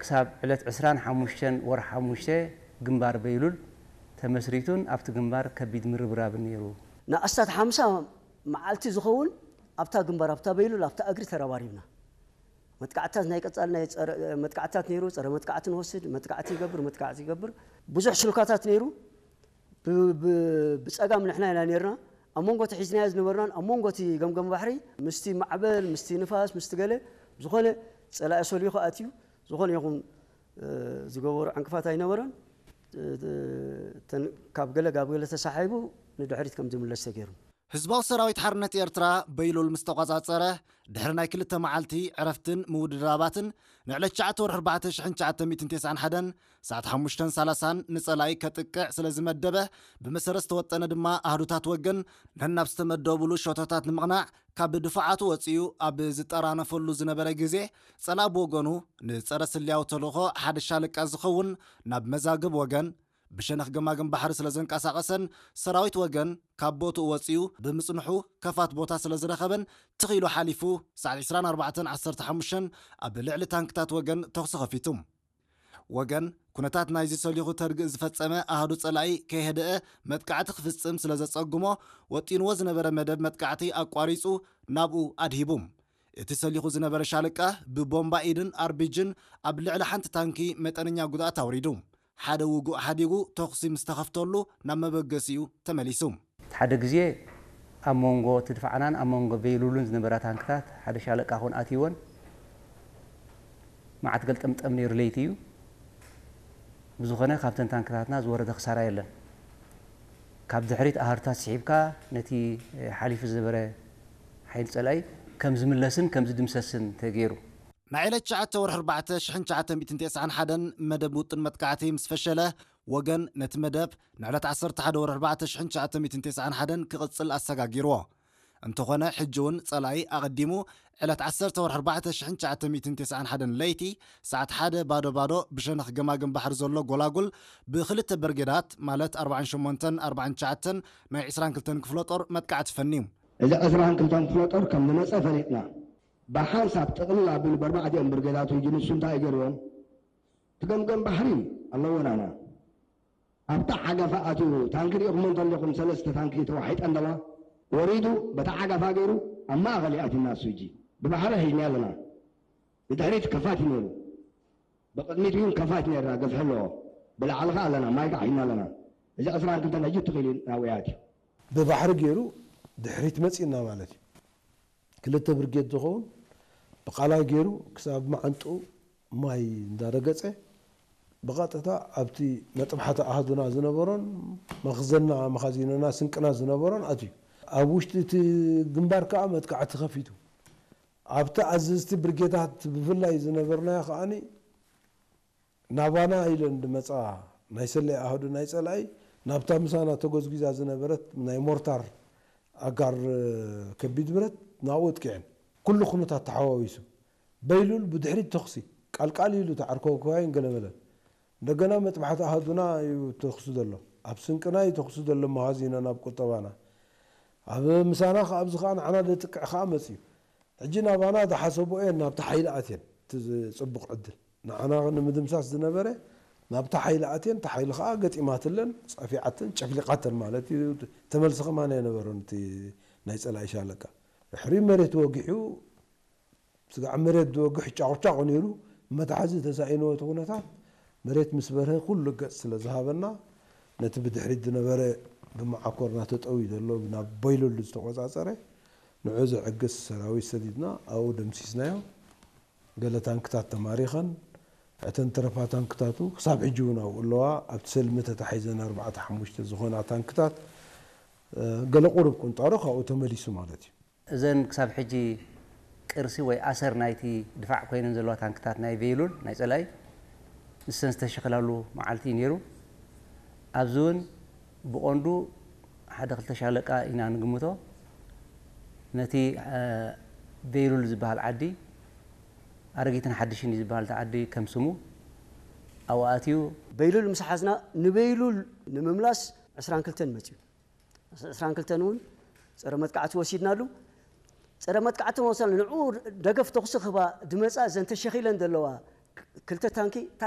ክሳብ ዕለት ዕስራን ሓሙሽተን ወርሒ ሓሙሽተ ግንባር በይሉል ተመስሪቱን ኣብቲ ግንባር ከቢድ ምርብራብን ነይሩ። ንኣስታት ሓምሳ መዓልቲ ዝኸውን ኣብታ ግንባር ኣብታ በይሉል ኣብታ እግሪ ተረባሪብና። መጥቃዕትታት ናይ ቀጻሊ ናይ ጸረ መጥቃዕትታት ነይሩ። ጸረ መጥቃዕቲ ንወስድ፣ መጥቃዕቲ ይገብር፣ መጥቃዕቲ ይገብር። ብዙሕ ሽልኳታት ነይሩ። ብ- ብ- ብጸጋም ንሕና ኢና ነርና። ኣብ መንጎ እቲ ሒዝናዮ ዝነበርናን ኣብ መንጎ እቲ ገምገም ባሕሪ ምስቲ ማዕበል ምስቲ ንፋስ ምስቲ ገለ ዝኾነ ጸላኢ ሰሊኹ ኣትዩ ዝኾነ ይኹን ዝገበሩ ዕንቅፋት ኣይነበረን። ካብ ገለ ጋብ ገለ ተሳሒቡ ንድሕሪት ከም ዝምለስ ተገይሩ። ህዝባዊ ሰራዊት ሓርነት ኤርትራ በይሉል ምስ ተቖጻጸረ፣ ድሕሪ ናይ ክልተ መዓልቲ ዕረፍትን ምውድዳባትን፣ ንዕለት ትሽዓተ ወርሒ ኣርባዕተ ሽሕን ትሽዓተ ሚእትን ተስዓን ሓደን ሰዓት ሓሙሽተን ሰላሳን ንጸላኢ ከጥቅዕ ስለ ዝመደበ፣ ብመሰረት ዝተወጠነ ድማ ኣህዱታት ወገን ነናብ ዝተመደቡሉ ሸቶታት ንምቕናዕ ካብ ድፋዓቱ ወጺኡ ኣብ ዝጠራነፈሉ ዝነበረ ግዜ፣ ጸላኢ ብወገኑ ንጸረ ስልያዊ ተልእኾ ሓደ ሻለቃ ዝኸውን ናብ መዛግብ ወገን ብሸነኽ ገማግም ባሕሪ ስለ ዘንቀሳቐሰን ሰራዊት ወገን ካብ ቦትኡ ወጺኡ ብምጽንሑ ከፋት ቦታ ስለ ዝረኸበን ትኽ ኢሉ ሓሊፉ ሰዓት ዕስራን ኣርባዕተን ዓሰርተ ሓሙሽተን ኣብ ልዕሊ ታንክታት ወገን ተኹሲ ከፊቱ። ወገን ኩነታት ናይዚ ሰሊኹ ተርግእ ዝፈጸመ ኣሃዱ ጸላኢ ከይሀደአ መጥቃዕቲ ክፍጽም ስለ ዘጸግሞ ወጢንዎ ዝነበረ መደብ መጥቃዕቲ ኣቋሪጹ ናብኡ ኣድሂቡ። እቲ ሰሊኹ ዝነበረ ሻለቃ ብቦምባ ኢድን ኣርቢጅን ኣብ ልዕሊ ሓንቲ ታንኪ መጠነኛ ጉድኣት ኣውሪዱ። ሓደ ውጉእ ሓዲጉ ተኹሲ ምስ ተኸፍተሉ ናብ መበገሲኡ ተመሊሱ። እቲ ሓደ ግዜ ኣብ መንጎ እቲ ድፋዕናን ኣብ መንጎ በይሉሉን ዝነበራ ታንክታት ሓደ ሻለቃ ኮን ኣትይወን መዓት ገልጠምጠም ነይሩ ለይቲ እዩ። ብዝኾነ ካብተን ታንክታትና ዝወረደ ክሳራ የለን። ካብ ድሕሪት ኣሃዱታት ስሒብካ ነቲ ሓሊፉ ዝነበረ ሓይሊ ጸላኢ ከም ዝምለስን ከም ዝድምሰስን ተገይሩ። ናይ ዕለት ትሽዓተ ወርሒ ኣርባዕተ ሽሕን ትሽዓተ ሚእትን ተስዓን ሓደን መደብ ውጥን መጥቃዕቲ ምስ ፈሸለ፣ ወገን ነቲ መደብ ንዕለት ዓሰርተ ሓደ ወርሒ ኣርባዕተ ሽሕን ትሽዓተ ሚእትን ተስዓን ሓደን ክቕጽል ኣሰጋጊርዎ። እንተኾነ ሕጂ እውን ጸላኢ ኣቐዲሙ ዕለት ዓሰርተ ወርሒ ኣርባዕተ ሽሕን ትሽዓተ ሚእትን ተስዓን ሓደን ለይቲ ሰዓት ሓደ ባዶ ባዶ ብሸነኽ ገማግም ባሕሪ ዘሎ ጎላጉል ብኽልተ ብርጌዳት ማለት ኣርባዓን ሸሞንተን ኣርባዓን ትሽዓተን ናይ ዕስራን ክልተን ክፍለ ጦር መጥቃዕቲ ፈንዩ። እዚ ዕስራን ክልተን ክፍለ ጦር ከም ዝመጸ ፈሊጥና። ብሓንሳብ ጥቕልል ኣቢሉ በርባዕቲኦም ብርጌዳቱ ሕጂ ንሱ እንታይ እዩ ገይርዎም? እቲ ገምገም ባሕሪ ኣለዎ ናና ኣብታ ዓጋፋ ኣትዩ ታንኪ ሪኢኹሞ እንተለኹም ሰለስተ ታንኪ ተዋሒጠን ኣለዋ። ወሪዱ በታ ዓጋፋ ገይሩ ኣብ ማእኸል እዩ ኣትዩና እሱ ሕጂ ብባሕሪ ሒዝና ኣለና። ንድሕሪት ከፋት እዩ ነይሩ። ብቕድሚት እውን ከፋት ነይርና ገፍሒ ኣለዎ። ብላዕሊ ኸዓ ኣለና ማይ ከዓ ሒዝና ኣለና። እዚ ዕስራን ክልተን ሕጂ ትኽእል እዩ ናብኡ ኣትዩ። ብባሕሪ ገይሩ ድሕሪት መፂእና ማለት እዩ። ክልተ ብርጌድ ዝኸውን ብቃላይ ገይሩ ክሳብ መዓንጥኡ ማይ እንዳረገፀ ብቐጥታ ኣብቲ መጥባሕቲ ኣሃዱና ዝነበሮን መኽዘንና መኻዚኖና ስንቅና ዝነበሮን ኣትዩ። ኣብ ውሽጢ እቲ ግንባር ከዓ መጥቃዕቲ ከፊቱ። ኣብቲ ኣዘዝቲ ብርጌዳት ብፍላይ ዝነበርናዮ ከዓኒ ናባና ኢለን ዝመፃ ናይ ሰለይ ኣሃዱ ናይ ፀላኢ ናብታ ምሳና ተጎዝጒዛ ዝነበረት ናይ ሞርታር ኣጋር ከቢድ ብረት ናብኡ ኣጥቂዐን። ኩሉ ኩነታት ተሓዋዊሱ በይሉል ብድሕሪት ተኹሲ ቃልቃል ኢሉ ተዓርከውከዋይን ገለመለን። እንደገና መጥባሕቲ ኣሃዱና እዩ ተኹሲ ዘሎ። ኣብ ስንቅና እዩ ተኹሲ ዘሎ መኻዚኖና ኣብ ቁጠባና። ኣብ ምሳና ከዓ ኣብዚ ከዓ ንዓና ዘጥቅዕ ከዓ መፅዩ። ሕጂ ናባና ዝሓሰቦ እየን ናብቲ ሓይሊ ኣትየን እቲ ፅቡቕ ዕድል። ንዓና ንምድምሳስ ዝነበረ ናብታ ሓይሊ ኣትየን፣ እታ ሓይሊ ኸዓ ገጢማትለን፣ ጸፊዓተን፣ ጨፍሊቓተን ማለት እዩ። ተመልሲ ከማን ኣይነበሮን እቲ ናይ ጸላኢ ሻለቃ። ድሕሪ መሬት ወጊሑ፣ ስጋዕ መሬት ዝወግሕ ጫቑጫቑ ነይሩ፣ መትሓዚ ተሳኢንዎ እቲ ኩነታት፣ መሬት ምስ በርሀ ኩሉ ገጽ ስለ ዝሃበና፣ ነቲ ብድሕሪት ዝነበረ ብመዓኮርና ተጠውዩ ዘሎ ናብ ቦይለሉ ዝተቖጻጸረ፣ ንዑ ዘዕግስ ሰራዊት ሰዲድና ኣብኡ ደምሲስናዮ። ገለ ታንክታት ተማሪኸን፣ እተን ተረፋ ታንክታቱ ክሳብ ሕጂ እውን ኣብኡ ኣለዋ። ኣብቲ ሰልሚ ተታሒዘን ኣርባዕተ ሓሙሽተ ዝኾና ታንክታት፣ ገለ ቁሩብ ቁንጣሮ ካብኡ ተመሊሱ ማለት እዩ። እዘን ክሳብ ሕጂ ቅርሲ ወይ ኣሰር ናይቲ ድፋዕ ኮይነን ዘለዋ ታንክታት ናይ ቬይሉል ናይ ጸላኢ ንሰን ዝተሸኸላሉ መዓልቲ እዩ ነይሩ። ኣብዚ እውን ብቐንዱ ሓደ ክልተ ሻለቃ ኢና ንግምቶ። ነቲ ቤይሉል ዝበሃል ዓዲ ኣረጊትን ሓድሽን እዩ ዝበሃል እቲ ዓዲ ከም ስሙ ኣብኡ ኣትዩ። በይሉል ምስ ሓዝና ንበይሉል ንምምላስ ዕስራን ክልተን መፅዩ። ዕስራን ክልተን እውን ፀረ መጥቃዕቲ ወሲድናሉ። ፀረ መጥቃዕቲ መወሰል ንዕኡ ደገፍ ተኹሲ ክህባ ድመፃ እዘን ተሸኺለን ዘለዋ ክልተ ታንኪ፣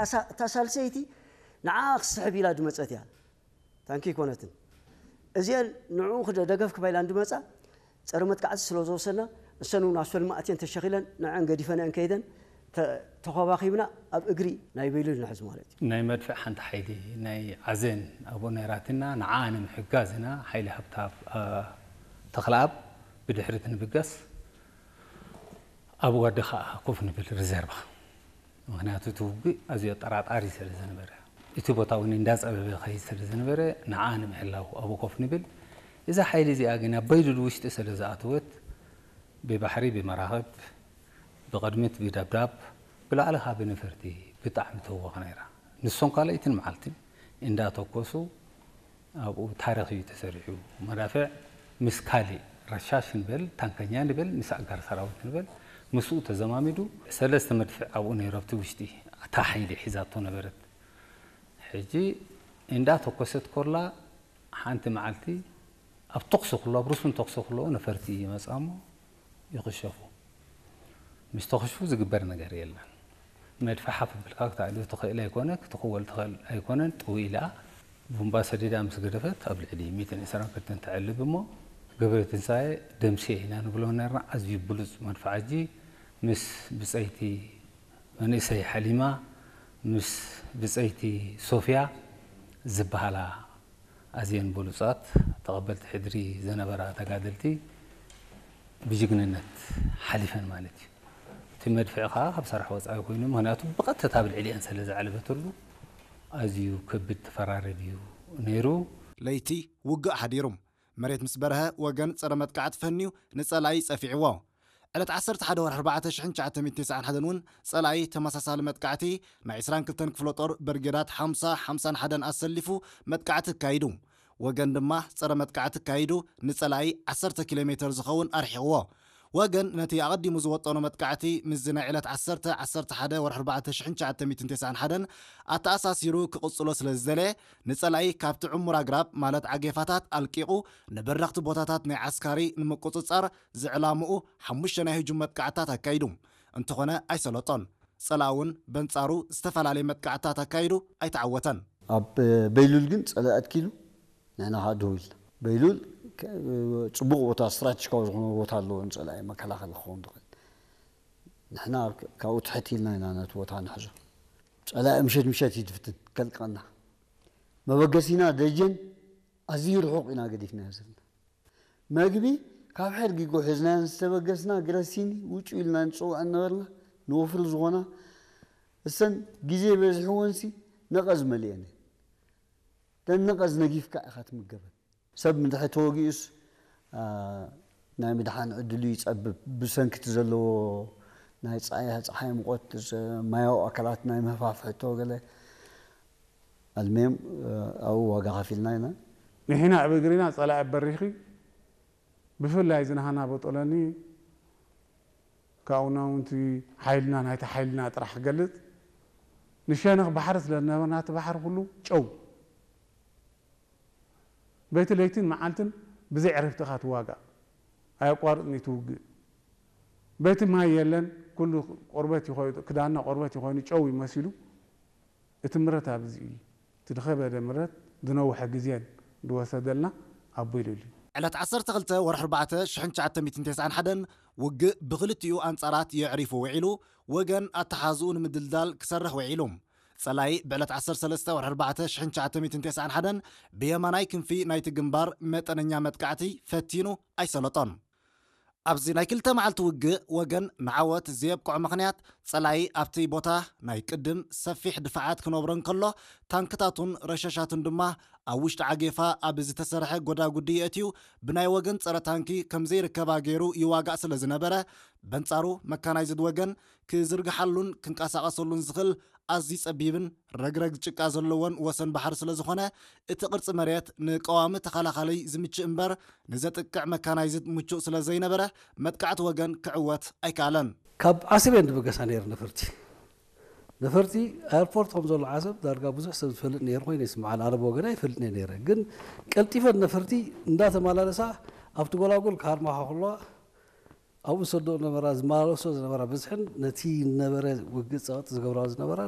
እታ ሳልሰይቲ ንዓ ክስሕብ ኢላ ድመፀት እያ። ታንኪ ኣይኮነትን። እዚአን ንዕኡ ክደ-፣ ደገፍ ክባ ኢላ እንድመፃ፣ ፀረ መጥቃዕቲ ስለ ዝወሰና፣ እሰን እውን ኣብ ሰልሚ ኣትየን ተሸኺለን፣ ንዐን ገዲፈንአን ከይደን፣ ተ-፣ ተኸባኺብና ኣብ እግሪ ናይ በይሉል ንሕዝ ማለት እዩ። ናይ መድፍዕ ሓንቲ ሓይሊ ናይ ዓዜን ኣብኡ ነይራትና፣ ንዓ ንምሕጋዝ ኢና ሓይሊ ሃብተኣብ፣ አ፣ ተኽለኣብ ብድሕሪት ንብገስ፣ ኣብ ወዲ ኸዓ ኮፍ ንብል ሪዘርቫ። ምኽንያቱ እቲ ውግእ ኣዝዩ ኣጠራጣሪ ስለ ዝነበረ፣ እቲ ቦታ እውን እንዳጸበበ ኸይድ ስለ ዝነበረ፣ ንዓ ንምሕላው ኣብኡ ኮፍ ንብል። እዛ ሓይሊ እዚኣ ግን ኣብ በይሉል ውሽጢ ስለ ዝኣተወት፣ ብባሕሪ ብመራኽብ፣ ብቕድሚት ብደብዳብ፣ ብላዕሊ ኸዓ ብነፈርቲ ብጣዕሚ ትህወኽ ነይራ። ንሶም ካልኣይትን መዓልትን እንዳተኮሱ ኣብኡ ታሪኽ እዩ ተሰሪሑ። መዳፍዕ ምስ ካሊእ ረሻሽ ንበል፣ ታንከኛ ንበል፣ ምስ ኣጋር ሰራዊት ንበል፣ ምስኡ ተዘማሚዱ ሰለስተ መድፍዕ ኣብኡ ነይሩ፣ ኣብቲ ውሽጢ እታ ሓይሊ ሒዛቶ ነበረት። ሕጂ እንዳተኮሰት ኮላ ሓንቲ መዓልቲ ኣብ ተኹሲ ኩሎ፣ ኣብ ርሱን ተኹሲ ኩሎ ነፈርቲ ይመጻ እሞ ይኽሸፉ። ምስ ተኽሽፉ ዝግበር ነገር የለን። መድፍዕ ሓፍ ብልካ ክተዕልዮ ትኽእል ኣይኮነ፣ ክትኽወል ትኽእል ኣይኮነን። ጥው ኢላ ቡምባ ሰዲዳ ምስ ገደፈት ኣብ ልዕሊ ሚእትን ዕስራን ክልተን ተዕልብ እሞ ገብረ ትንሳኤ ደምስየ ኢና ንብሎ ነርና። ኣዝዩ ብሉጽ መድፍዓጂ ምስ ብጸይቲ መንእሰይ ሓሊማ ምስ ብጸይቲ ሶፍያ ዝበሃላ ኣዝየን ብሉጻት ተቐበልቲ ሕድሪ ዝነበራ ተጋደልቲ ብጅግንነት ሓሊፈን ማለት እዩ። እቲ መድፍዕ ኸዓ ካብ ሰራሕ ወጻኢ ኮይኑ፣ ምኽንያቱ ብቐጥታ ኣብ ልዕሊአን ስለ ዘዕለበትሉ ኣዝዩ ከቢድ ተፈራረድ እዩ ነይሩ። ለይቲ ውግእ ሓዲሩ። መሬት ምስ በርሀ ወገን ጸረ መጥቃዕቲ ፈንዩ ንጸላኢ ጸፊዕዎ። ዕለት ዓሰርተ ሓደ ወርሒ ኣርባዕተ ሽሕን ትሽዓተ ሚእትን ተስዓን ሓደን እውን ጸላኢ ተመሳሳሊ መጥቃዕቲ ናይ ዕስራን ክልተን ክፍለ ጦር ብርጌዳት ሓምሳ፣ ሓምሳን ሓደን ኣሰሊፉ መጥቃዕቲ ኣካይዱ። ወገን ድማ ጸረ መጥቃዕቲ ኣካይዱ ንጸላኢ ዓሰርተ ኪሎ ሜተር ዝኸውን ኣርሒቕዎ። ወገን ነቲ ኣቐዲሙ ዝወጠኖ መጥቃዕቲ ምስዚ ናይ ዕለት ዓሰርተ፣ ዓሰርተ ሓደ ወርሒ ኣርባዕተ ሽሕን ትሽዓተ ሚእትን ተስዓን ሓደን ኣተኣሳሲሩ ክቕጽሎ ስለ ዝደለየ፣ ንጸላኢ ካብቲ ዕሙር ኣግራብ ማለት ዓጌፋታት ኣልቂቑ ንበረኽቲ ቦታታት ናይ ዓስካሪ ንምቁጽጻር ዝዕላምኡ ሓሙሽተ ናይ ህጁም መጥቃዕትታት ኣካይዱ። እንተኾነ ኣይሰለጦን። ጸላኢ እውን በንጻሩ ዝተፈላለየ መጥቃዕትታት ኣካይዱ ኣይተዓወተን። ኣብ በይሉል ግን ጸላኢ ኣትኪሉ ንሕና ከዓ ደው ኢልና። በይሉል ከ-፣ ጽቡቕ ቦታ፣ ስትራቴጂካዊ ዝኾነ ቦታ ኣለዎ ንጸላኢ መከላኸሊ ክኸውን ዝኽእል። ንሕና ካብ-፣ ካብኡ ትሕት ኢልና ኢና ነቲ ቦታ ንሕዞ። ጸላኢ ምሸት ምሸት እዩ ዝፍትን ከልቀና። መበገሲና ደጀን ኣዝዩ ርሑቕ ኢና ገዲፍናዮ ዘለና። መግቢ ካብ ሕድ ጊጎ ሒዝናዮ ዝተበገስና ግረሲኒ ውጩ ኢልና ንጽውዐን ነበርና። ንወፍሪ ዝኾና እሰን ግዜ በዚሕወንሲ ነቐዝ መሊአን እየን። ደን ነቐዝ ነጊፍካ ኢኻ ትምገበን። ሰብ ምድሐ ተወጊኡስ፣ አ፣ ናይ ምድሓን ዕድሉ ይጸብብ። ብሰንኪ እቲ ዘለዎ ናይ ጸሓይ፣ ጸሓይ ሙቐት፣ ዘ-፣ ማያዊ ኣካላት ናይ ምህፋፍ ሕቶ ገለ ኣልሜም፣ እ፣ ኣብኡ ዋጋ ከፊልና ኢና። ንሕና ኣብ እግሪና ጸላኢ በሪኺ፣ ብፍላይ ዝናሃና በጦለኒ፣ ካብኡና እውን እቲ ሓይልና፣ ናይቲ ሓይልና ጥራሕ ክገልጽ፣ ንሸነኽ ባሕሪ ስለ ዝነበርና፣ እቲ ባሕሪ ኩሉ ጨው። በይቲ ለይትን መዓልትን ብዘይ ዕረፍቲ ኢኻ ትዋጋእ። ኣየቋርጽን እዩ ትውግእ። በይቲ ማይ የለን፣ ኩሉ ቆርበት እዩ ኮይኑ፣ ክዳንና ቆርበት እዩ ኮይኑ፣ ጨው እዩ መሲሉ። እቲ ምረት ኣብዚ እዩ። እቲ ዝኸበደ ምረት ዝነውሐ ግዜን ዝወሰደልና ኣብ በይሉል እዩ። ዕለት ዓሰርተ ክልተ ወርሒ ኣርባዕተ ሽሕን ትሽዓተ ሚእትን ተስዓን ሓደን ውግእ ብኽልቲኡ ኣንጻራት የዕሪፉ ውዒሉ፣ ወገን ኣተሓዝኡ ንምድልዳል ክሰርሕ ውዒሉ። ጸላኢ ብዕለት ዓሰርተ ሰለስተ ወርሒ ኣርባዕተ ሽሕን ትሽዓተ ሚእትን ተስዓን ሓደን ብየማናይ ክንፊ ናይቲ ግንባር መጠነኛ መጥቃዕቲ ፈቲኑ ኣይሰለጦን። ኣብዚ ናይ ክልተ መዓልቲ ውግእ ወገን ንዓወት ዘየብቅዖ ምኽንያት፣ ጸላኢ ኣብቲ ቦታ ናይ ቅድም ሰፊሕ ድፋዓት ክነብሮ እንከሎ፣ ታንክታቱን ረሸሻቱን ድማ ኣብ ውሽጢ ዓጌፋ ኣብ ዝተሰርሐ ጎዳጉዲ የእትዩ ብናይ ወገን ጸረ ታንኪ ከም ዘይርከባ ገይሩ ይዋጋእ ስለ ዝነበረ፣ በንጻሩ መካናይዝድ ወገን ክዝርግሓሉን ክንቀሳቐሰሉን ዝኽእል ኣዝዩ ጸቢብን ረግረግ ጭቃ ዘለዎን ወሰን ባሕሪ ስለ ዝኾነ፣ እቲ ቅርጺ መሬት ንቀዋሚ ተኸላኻሊ ዝምችእ እምበር ንዘጥቅዕ መካናይዝድ ምቹእ ስለ ዘይነበረ፣ መጥቃዕቲ ወገን ክዕወት ኣይከኣለን። ካብ ዓሰብ እየን ዝበገሳ ነይረን ነፈርቲ። ነፈርቲ ኣየርፖርት ከም ዘሎ ዓሰብ ዳርጋ ብዙሕ ሰብ ዝፈልጥ ነይሩ ኮይኑ ይስምዓኒ። ኣነ ብወገነይ ኣይፈልጥን እየ ነይረ። ግን ቀልጢፈን ነፈርቲ እንዳተመላለሳ ኣብቲ ጎላጉል ክሃርማ ከለዋ ኣብኡ ዝሰደኦ ዝነበራ ዝመላለሶ ዝነበራ ብዝሕን ነቲ ነበረ ውግእ ጸቕጢ ዝገብራ ዝነበራ